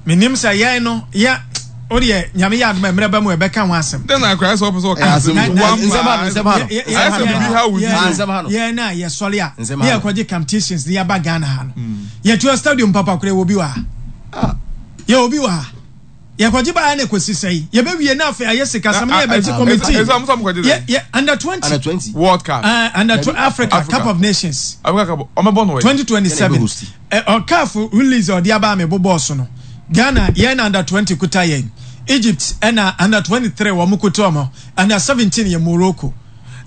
Menim sɛ yɛn no yɛ o deɛ Nyame yɛ adom a mmerɛ ba mu ɛbɛka ho asɛm. Dɛn na akora sɛ ɔpɛ sɛ ɔka asɛm nsɛm ha no nsɛm ha no ayɛ sɛ biribi ha wo nsɛm ha no yɛn na yɛsɔre a ne yɛkɔgye competitions ne yɛaba Ghana ha no yɛtua stadium papa koraa yɛwɔ bi wɔ ha yɛwɔ bi wɔ ha yɛkɔgye baeɛ na ɛkɔsi sɛe yɛbɛwie na afei ayɛ sikasɛm ne yɛbɛgye committee yɛ yɛ under 20 World Cup under Africa Cup of Nations Africa Cup ɔmɛbɔ no 2027 Ɛ caf release a ɔde aba a me bobɔɔ so no, Ghana yɛn na under 20 kuta yɛn, Egypt ɛna under 23 wɔn kuta wɔn, under 17 yɛ Morocco.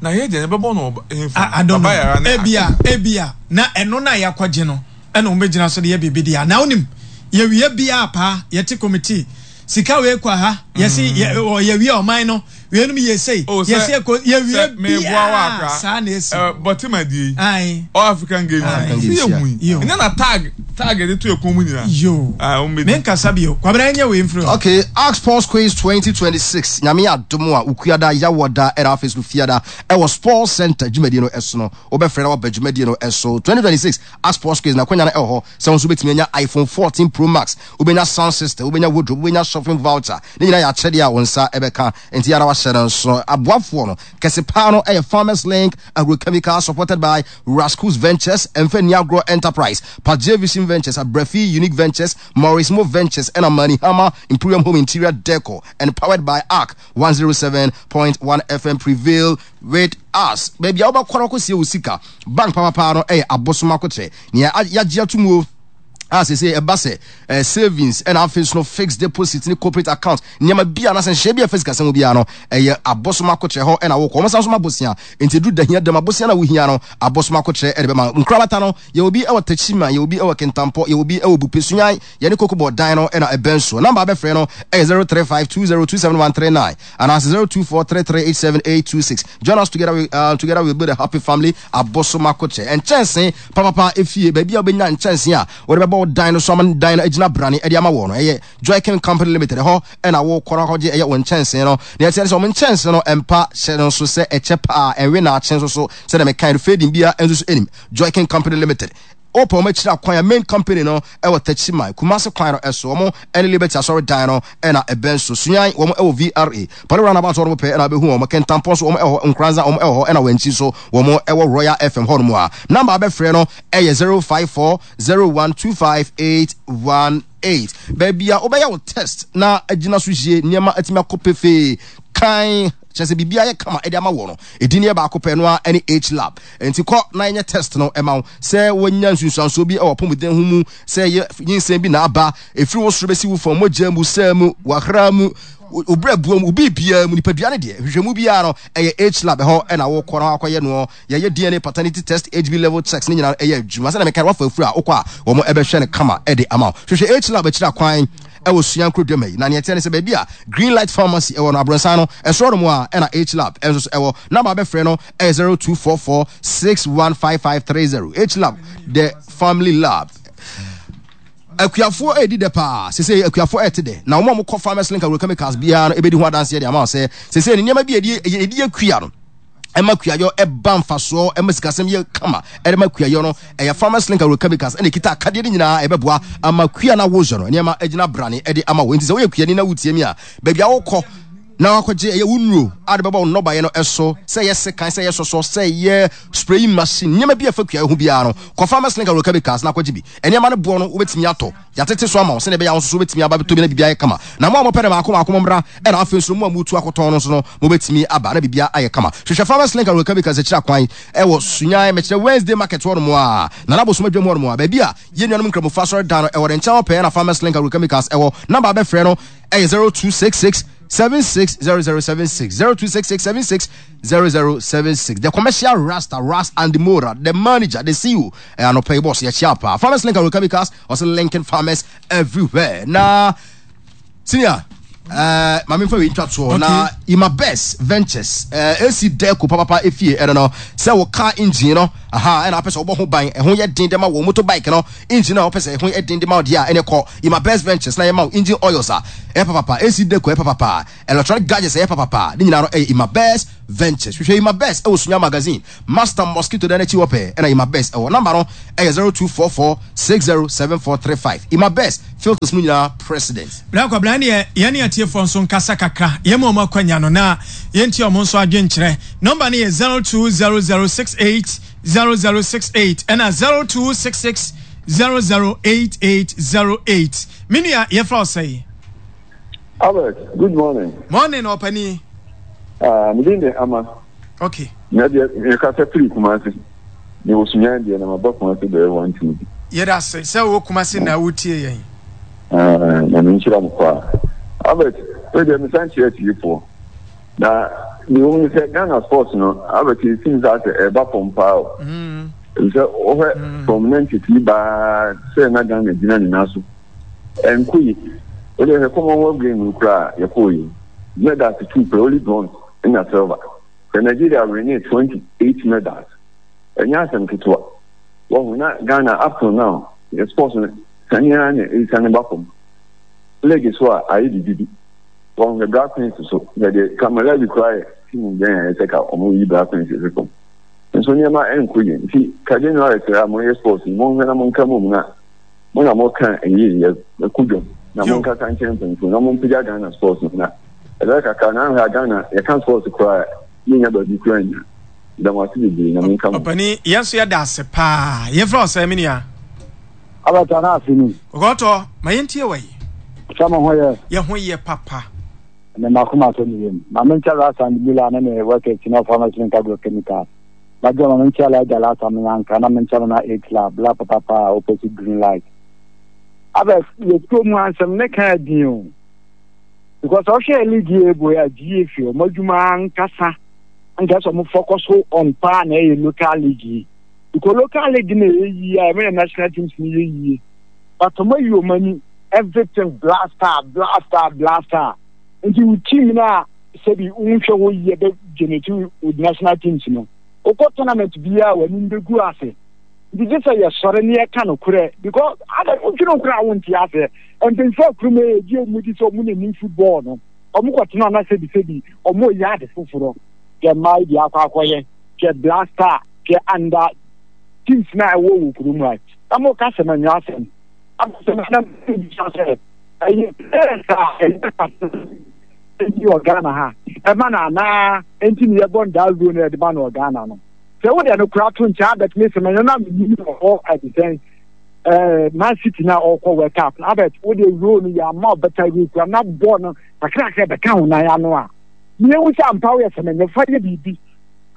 Na yɛ deɛ yɛbɛbɔ no wɔ hefa? I, I don't know. Ebia, ebia, na ɛno na yɛakɔgye no ɛna wɔn bɛgyina so de yɛ biribi deɛ. Na wonim, yɛwie biara paa, yɛte committee Sika wei kɔ ha, yɛsi yɛ ɔ yɛwie ɔman no, weinom yɛ sei, Oh, sɛ yɛsi ɛkɔ yɛwie sɛ meboa wo biara akra saa na esi. eh, Bɔtema die yi, Ae. All African Games Ae. yi, sɛ Games, yɛhu yi, Yo. ɛnyɛ na tag tag yɛde to yɛ kɔn mu nyinaa. Yo. Ah, wɔn bɛdi. Menkasa bio. Kwabena ɛnyɛ wei mfiri hɔ. Okay, Ark Sports Quiz 2026, Nyame adom a, Wukuada, Yawɔda, ɛna afei so Fiada, ɛwɔ Sports Center dwumadie no ɛso no, wobɛfrɛ na waba dwumadie no ɛso. 2026 Ark Sports Quiz na akwanya no ɛwɔ hɔ sɛ wo nso wobɛtumi anya iPhone 14 Pro Max, Wobɛnya sound system, wobɛnya wardrobe, wobɛnya shopping voucher. Ne nyinaa yɛ akyɛdeɛ a wo nsa bɛka. Enti yɛ ara wahyɛ no nso. Aboafoɔ no, kɛse paa no yɛ Farmers Link Agrochemical supported by Rascus Ventures, Mfa Nni Agorɔ Enterprise, Pagye Vision Ventures, Abrafi Unique Ventures, Maurice Mo Ventures ɛna Manihama Imperium Home Interior Decor and powered by Ark 107.1 FM Prevail with us. Baabi a wobɛkɔ no akɔsie wo sika, bank papapaa no yɛ Abosom Akokyerɛ. Nea yɛagye ato mu o. a sese ɛba sɛ eh, savings ɛna afei nso no fixed deposit ne corporate account nneɛma bi a nasɛ nhyɛ bi a ɛfɛ sikasɛm mu biara no ɛyɛ abosom akokyerɛ hɔ ɛna wokɔ wɔn san so ma bosia nti edu da hia dɛm abosia na wohia no abosom akokyerɛ ɛde bɛma nkorabata no yɛ obi ɛwɔ Techiman yɛ obi ɛwɔ Kintampɔ yɛ obi ɛwɔ Bupe Sunyan yɛne Kokobɔ dan no ɛna ɛbɛn so namba abɛfrɛ no ɛyɛ 0352027139 anaasɛ 0243387826 join us together we, together we build a happy family abosom akokyerɛ nkyɛnse Papapa efie, baabi a wobɛnya nkyɛnsee a wɔde bɛbɔ wo dan no so ama dan no agyina brane de ama wɔ no, ɛyɛ Joykin Company Limited. Ɛhɔ na wokɔ na wakɔgye ɛyɛ wo nkyɛnsee no. Nea ɛteɛ ne sɛ wɔn nkyɛnsee no mpa hyɛ no nso sɛ ɛkyɛ paa, ɛnwe naakye nso so sɛdeɛ mekae no, fading biara nso so ɛnim. Joykin Company Limited. Wopɛ wɔn akyiri akwan a, main company no ɛwɔ Techiman, Kumasi kwan no ɛso. Wɔn ɛne Liberty Asɔre dan no ɛna ɛbɛn so. Sunyani, wɔn ɛwɔ VRA. Palo Roundabout hɔ nom pɛɛ na wobɛhu wɔn. Kintampo nso wɔn ɛwɔ hɔ, Nkoranza wɔn ɛwɔ hɔ ɛna Wankyi nso wɔn ɛwɔ Royal FM hɔ nom a. Number a wobɛfrɛ no ɛyɛ 0540125818. Baabi a wobɛyɛ wo test na agyina so yie, nneɛma atumi akɔ pefee kann, kyerɛ sɛ biribiara yɛ kama ɛde ama wɔ no, ɛdin yɛ baako pɛ, ɛno ara ɛne H-Lab. Nti kɔ na yɛnyɛ test no ɛma wo. Sɛ wonya nsunsuansoɔ bi ɛwɔ apɔmuden ho mu, sɛ ɛyɛ nyinsɛn bi na aba, ɛfiri wo soro bɛsi wo fam, mogya mu, sɛ mu, w'ahra mu, wo berɛboɔ mu, wo biribiara mu, nipadua no deɛ, nhwehwɛmu biara no, ɛyɛ H-lab ɛhɔ ɛna wokɔ na wakɔyɛ noɔ. Yɛyɛ DNA paternity test, HB level checks, ne nyinaa ɛyɛ adwuma. Sɛdeɛ mekae no, woafa afuru a, wokɔ a, wɔn ɛbɛhwɛ no kama ɛde ama wo. Hwehwɛ H-lab akyiri akwan ɛwɔ Suan Kurodua yi. Na neɛ ɛteɛ ne sɛ baabi a Green Light Pharmacy ɛwɔ no, abrɔnsan no, ɛsoro hɔ nom a ɛna H-lab ɛnso so ɛwɔ. Number a wobɛfrɛ no ɛyɛ 0244 615530. H-lab, the family lab. Akuafoɔ redi dɛ paa. Sesei akuafoɔ rete dɛ. Na wɔn a wɔkɔ Farmers Link Agrochemicals biara no bɛdi ho adanseɛ de ama wo sɛ sesei no nneɛma bi a yɛde yɛde yɛ kua no ɛma kuayɔ ɛba mfasoɔ ɛma sikasɛm yɛ kama ɛde ma kuayɔ no ɛyɛ Farmers Link Agrochemicals ɛna ɛkita akadeɛ no nyinaa ɛbɛboa ama kua no awozɔ no nneɛma agyina brane ɛde ama wo. Nti sɛ woyɛ kuani na wotie mi a baabi a wokɔ na wakɔgye ɛyɛ wo nnuro a de bɛbɔ wo nnɔbaeɛ no so, sɛ ɛyɛ sekan, sɛ ɛyɛ sɔsɔ, sɛ ɛyɛ spraying machine, nneɛma bi a ɛfa kuayɛ ho biara no, kɔ Farmers Link Agrochemicals na akɔgye bi. Nneɛma no boɔ no, wobɛtumi atɔ. Yɛatete so ama wo sɛdeɛ ɛbɛyɛ a wo nso so wobɛtumi aba abɛtɔ bi na biribiara ayɛ kama. Na mo a mopɛ no mmaako mmaako mommra, ɛna afei nso mo a moretu akɔtɔn no nso no, mobɛtumi aba na biribiara ayɛ kama. Hwehwɛ Farmers Link Agrochemicals akyiri akwan wɔ Sunyani, mekyerɛ Wednesday Market hɔnom a, Nana Abosom Adwam hɔnom a, baabi a yɛn nuanom Nkramofo asɔredan no wɔ no nkyɛn hɔ pɛɛ na Farmers Link Agrochemicals wɔ. Number a wobɛfrɛ no ɛyɛ 0266 760076 0266 760076 the commercial rasta ras and mora the manager the ceo eh, anɔpa yi boss yɛkyia paa farmers link agrochemicals ɔsɛ linking farmers everywhere na senior Uh, maame nfa wei ntwa toɔ na ima best ventures uh, eh, ac deco papapa efie ɛno no sɛ wo car engine no. Aha, ɛna wopɛ sɛ wobɔ ho ban, ɛho yɛ den de ma wo motorbike no engine a wopɛ sɛ ɛho yɛ den de ma wo deɛ a, ɛne kɔ Ima Best Ventures na yɛma wo engine oils a ɛyɛ papapa, AC deco ɛyɛ papapa, electronic gadgets ɛyɛ papapa, ne nyinaa no ɛyɛ Ima Best Ventures. Hwehwɛ Ima Best ɛwɔ Sunya Magazine, Master Mosquito dan akyi hɔ pɛɛ ɛna Ima Best ɛwɔ. Number no ɛyɛ 0244 607435. Ima Best filters mu nyinaa president. Bra Kwabena ɛneɛ yɛne atiefoɔ nso nkasa kakra, yɛma wɔn akwanya no na yɛntie wɔn nso adwenkyerɛ. Number no yɛ 0200680068 ɛna 0266008808. Me nua yɛfrɛ wo sɛn? Albert, good morning. Morning, ɔpani. Ah, me din de Ama. Okay. Na deɛ mekasa firi Kumasi. Mewɔ Sunyani deɛ na maba Kumasi bɛyɛ one two bi. Yɛda ase sɛ wowɔ Kumasi na wotie yɛn. Ah, Nyame nhyira mo paa. Albert, wei deɛ mesan kyerɛ atiefoɔ. Na deɛ wɔn sɛ Ghana sports no, Albert it seems sɛ ɛba fam paa o. Mm. Sɛ wohwɛ mm. from 93 baa sɛ na Ghana gyina ne nan so. Ɛnkɔ yi. Wode hwɛ Commonwealth Games no koraa a yɛkɔɔ yi. Medals two pɛ, only bronze ɛna silver. Hwɛ Nigeria winning 28 medals. Ɛnyɛ asɛm ketewa. Wahu na Ghana up till now, yɛ sports no sane ara na ɛresiane ba fam. League so a ayɛ biribi bi. Wahu hwɛ Black Queens so. Hwɛ deɛ ka Malawi koraa yɛ team bɛn a ɛsɛ ka wɔn yi Black Queens fi fam. Nso nneɛma ɛnkɔ yie. Nti ka January sɛ a moyɛ sports yi monhwɛ na monka mmom na mo na moka ɛyie yɛ ɛkɔ dwam na monkasa nkyerɛ mpanyinfoɔ na mompagya Ghana sports no na ɛbɛyɛ kakra na ahwɛ a Ghana yɛka sports koraa yɛnya baabi koraa nnya. Meda mo ase bebree Nyame nka mo ho. Ɔpani yɛn nso yɛda ase paa. Yɛmfrɛ wo sɛn me nua? Albert ana ase ni. Kɔkɔɔtɔ ma yɛntie wɔ yi. Sɛ mo ho yɛ. Yɛ ho yɛ papa. Ɛnɛ m'akoma atɔ me yam. Ma menkyɛ Rasa and Mula ne ne workers na ɔfa machine nka agrochemical. Madwo ma menkyɛ Elijah Lasa me anka na menkyɛ Nana 8 la bla papapa a opposite green light. Abɛ yɛ kurom ha nsɛm ne ka adin o. Because ɔhwɛ league yi ebo a GFA ɔmo adwuma ankasa anka sɛ ɔmo focus on paa na ɛyɛ local league yi. Because local league na ɛyɛ yie a ɛma yɛ national teams no yɛ yie. But ɔmo ayi ɔmo ani everything blaster blaster blaster. Nti wo team no a sɛbi wonhwɛ hɔ yie bɛ generate wo national teams no. Wokɔ tournament biara w'anim bɛgu ase. Nti gye sɛ yɛsɔre ne yɛka nokorɛ because ada wodwene wo koraa wonte aseɛ. Mpanyinfoɔ a kurom yɛ gye ɔmo di sɛ ɔmo na nim football no. Ɔmo kɔtena na sɛbi sɛbi ɔmo yɛ ade foforɔ. Hwɛ mmaa yi deɛ akɔ akɔyɛ. Hwɛ blaster hwɛ under teams na ɛwɔ wɔ kurom ha. Na mo ka sɛm ɛnyɛ asɛm. Abasɛm na mbisa sɛ ɛyɛ players a ɛyɛ kasa ɛni wɔ Ghana ha ɛma no anaa ɛnti ne yɛbɔ no daa role no yɛde ma no wɔ Ghana no. Sɛ wode ɛno koraa to nkyɛn abɛt me sɛm ɛno na menim wɔ hɔ ɛde sɛn ɛɛ Man City na ɔkɔ World Cup no abɛt wode role no yɛ ama ɔbɛta role kura na bɔɔl no kakrakra bɛka ho nan ano a mehu sɛ ampa woyɛ sɛm ɛnyɛ fa yɛ biribi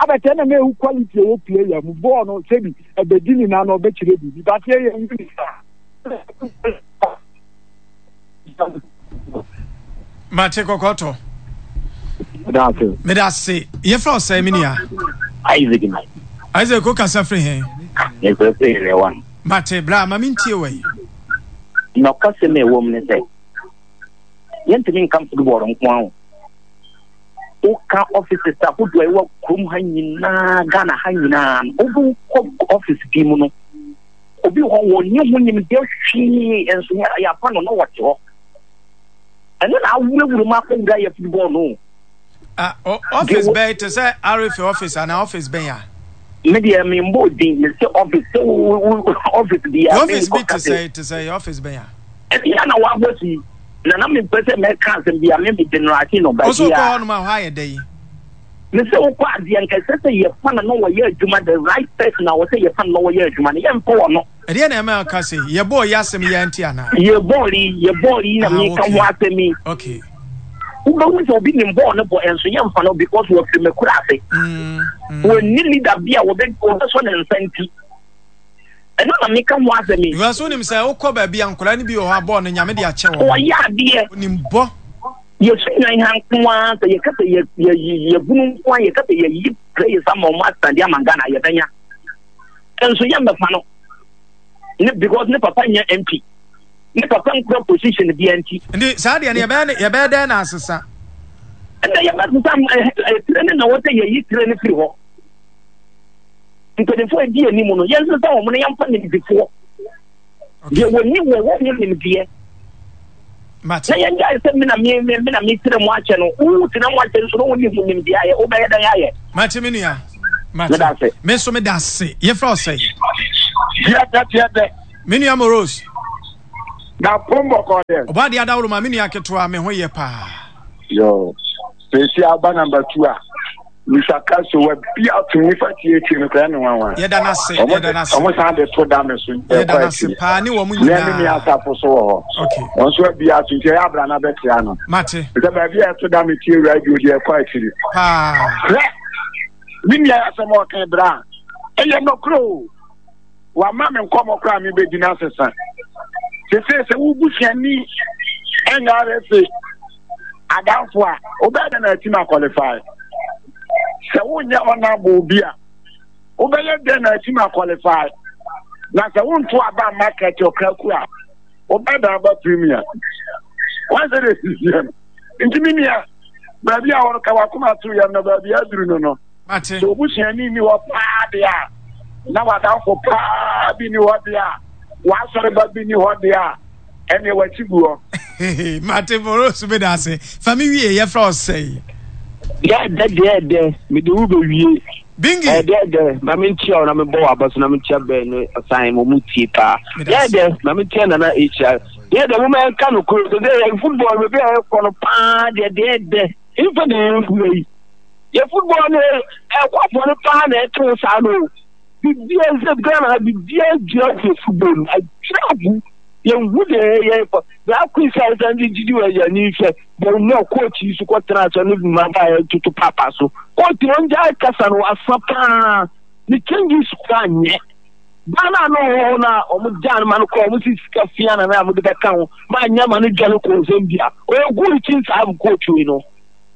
abɛt ɛna na ɛhu quality ɛwɔ player mu bɔɔl no sɛbi ɛbɛdi ne nan no ɔbɛkyerɛ biribi but yɛ yɛ hu ne saa. Mate kɔkɔtɔ. Meda ase. Yɛfrɛ wo sɛn me nua? Isaac na. Isaac wo kasa firi he? Mefrɛ firi area one. Mate bra ma mentie wɔ yi. Nɔkasɛm a ɛwɔ mu ne sɛ yɛntumi nka football nko ara o. Woka offices ahodoɔ a ɛwɔ kurom ha nyinaa, Ghana ha nyinaa no, wobɛkɔ office bi mu no, obi hɔ wɔnni ho nimdeɛ hwee nso yɛafa no na wɔte hɔ. Ɛno na awurawura mu akɔwura yɛ football no. Ah, office bɛn te sɛ RFA office anaa office bɛn a? Me deɛ me mbɔ din me sɛ office sɛ office bi a. Office bi te sɛ te sɛ office bɛn a? Ɛbi a na wabɔ si na na mepɛ sɛ mɛka asɛm bi a me me generate no ba bi a. Ɔsɛ wokɔ hɔnom a hɔ ayɛ dɛ yi. Me sɛ wokɔ adeɛ nka ɛsɛ sɛ yɛfa no na wɔyɛ adwuma the right person a wɔsɛ yɛfa no na wɔyɛ adwuma no yɛmfa wɔ no. Ɛdeɛ na ɛma ɔka se yɛbɔɔ yi asɛm yi anti anaa? Yɛbɔɔ yi yɛbɔɔ yi na ah, meka ho asɛm yi. Okay. Wobɛhu sɛ obi nim bɔɔl no bɔ ɛnso yɛmfa no because wɔfiri me kura ase. Mm, mm. Wɔnni leader bi a wɔbɛsɔ ne nsa nti. Ɛno na meka ho asɛm yi. Because wonim sɛ wokɔ baabi a nkwadaa no bi wɔ hɔ a bɔɔl no nyame de akyɛ wɔn. Wɔyɛ adeɛ. Onim bɔ. Yɛsu nwan ha nko ara sɛ yɛka sɛ yɛbunu nko ara yɛka sɛ yɛyi players ama wɔn asande ama Ghana yɛbɛnya. Nso yɛmmɛfa no. Ne because ne papa nyɛ MP. Ne papa nkura position bia nti. Nti saa deɛ no yɛbɛyɛ yɛbɛyɛ dɛn na asesa? Ɛnna yɛbɛsesa tire no na wɔsɛ yɛyi tire no firi hɔ. Mpanimfoɔ a ɛdi anim no, yɛnsesa wɔn na yɛmfa nimdefoɔ. Deɛ wɔni wɔ wɔn ho nimdeɛ. Na yɛngyae sɛ me na me me me na metena mu akyɛ no. Wotena mu akyɛ nso na wonni ho nimdeɛ ayɛ. Wobɛyɛ dɛn ayɛ? Mate me nua. Mate. Me nso meda ase. Yɛfrɛ wo sɛn? Tiɛdɛ tiɛdɛ. Me nua Moros. Na pom bɔkɔ dɛ. Ɔbɔ adeɛ adaworo ma me nua ketewa me ho yɛ paa. Yo. Sɛsi aba number 2 a. Mr. Castro wa bi ato nipa tietie no koraa ne nwanwa. Yɛda no ase, yɛda no ase. Ɔmo san de to da me so. Yɛda no ase paa ne wɔn nyinaa. Ne ne asafo so wɔ hɔ. Okay. Wɔn nso abi ato nti ɛyɛ abira na bɛtia no. Mate. Sɛ baabi a ɛto da me tie radio deɛ ɛkɔ akyiri. Paa. Hwɛ, me nua asɛm a ɔka bra ɛyɛ nɔkorɛ o. Wama me nkɔmmɔ koraa mebɛdi no asesa. Sese sɛ wo busuani ɛnyɛ RFA adamfo a, wobɛyɛ dɛn na atumi akɔlifai? Sɛ wonyɛ ɔnabo bi a, wobɛyɛ dɛn na atumi akɔlifai? Na sɛ wonto aba mma kɛtɛ ɔkraku a, wobɛyɛ dɛn aba premier? Wɔn sɛ de sisi no. Nti me nua, baabi a wɔka wakoma to yɛm no, baabi aduru no no. Sɛ obusuani nni hɔ paa deɛ a, na w'adamfo paa bi nni hɔ deɛ a, w'asɔreba bi nni hɔ deɛ a, ɛneɛ w'akyi gu hɔ. Mate Boros meda ase. Fa me wie yɛfrɛ wo sɛn? Dɛɛdɛ dɛɛdɛ mede wo bɛwie. Bingi. Dɛɛdɛ ma menkyia wo na mebɔ w'aba so na menkyia bɛn ne ɔsan mo mu tie paa. Dɛɛdɛ ma menkyia nana ahyia. Dɛɛdɛ mo ma yɛnka no koro sɛ sɛ football baabi a yɛkɔ no paa deɛ dɛɛdɛ mfa na yɛnkura yi. Yɛ football no ɛkɔ afɔre paa na ɛto saa no. Bibia sɛ Ghana ha bibia gyina gu football mu agyina agu. Yɛnhu deɛ yɛyɛ kɔ. Saa quiz a yɛsan de gyigyi wɔ yɛn ani hwɛ. Bɛn na coach yi so kɔtena ase ne mmabaa yɛ toto paapa so. Coach no ɔngyae kasa no asa paa. Ne changes koraa nyɛ. Ghana no wɔ hɔ no a wɔn gyaa no ma no kɔɔ wɔn si sika fia na na wɔde bɛka ho ma anyɛ ma no dwane kɔɔ Zambia. Ɔyɛ good kyin saa coach yi no.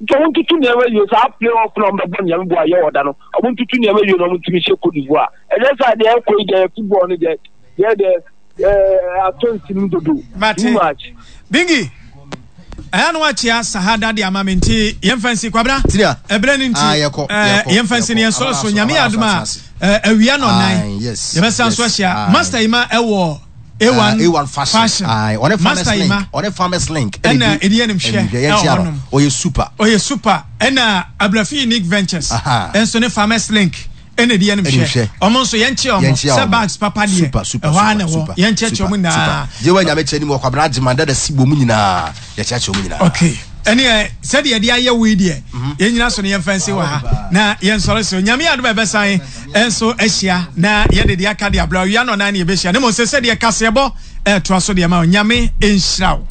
Nti wɔn ntutu nneɛma yie saa play off na wɔn bɛbɔ nyame boa yɛ ɔda no wɔn ntutu nneɛma yie na wɔn ntumi hyɛ Cote d'Ivoire. Ɛnyɛ saa deɛ ɛkɔ yi deɛ football no deɛ deɛ deɛ ɛɛ atɔ nsinim dodo. Mate. Too much. Bingi, ɛyɛ no wakyea sahada de ama me nti yɛmfa nsi kwabena ɛberɛ no nti ah, yɛkɔ, eh, yɛkɔ, yɛmfa nsi no yɛkɔ. yɛnsɔre so Amana nyame yɛ so, adom amana a so eh, awia no Aye, nan yes, yɛbɛsan so yes, ahyia aye. master ima ɛwɔ Ah, A1 A1 fashion. fashion Aye, ɔne farmers master link. ima Ɔne farmers link. ɛna ɛdi yɛnim hwɛ Ɛnhwɛ ɛwɔ yɛnkyia no. hɔnom Ɔyɛ super. ɔyɛ super ɛna abrafi unique ventures Aha. ɛnso ne farmers link ɛna ɛdi yɛnim Ɛnim hwɛ hwɛ. ɔmo nso yɛnkyia ɔmo Yɛnkyia sɛ ɔmo. bags papa deɛ Super, super, ɛhɔ ara super, na ɛwɔ super, yɛnkyɛkyɛ super, ɔmo nyinaa super. Yewa nyame kyɛ ni mu ɔkwabena agyeman dada si bɔ mu nyinaa. Yɛkyerɛkyerɛ mu nyinaa. Okay. Ɛneɛ sɛdeɛ yɛde ayɛ wo yi deɛ mhm. yɛn nyina so no yɛmfa nsi wɔ ha na yɛnsɔre so nyame adom a ɛbɛsan nso ahyia na yɛde deɛ aka de abrɛ owia no ɔnan ne yɛbɛhyia ne mmom sɛ sɛdeɛ kaseɛbɔ ɛtoa so deɛ ma nyame nhyira wo.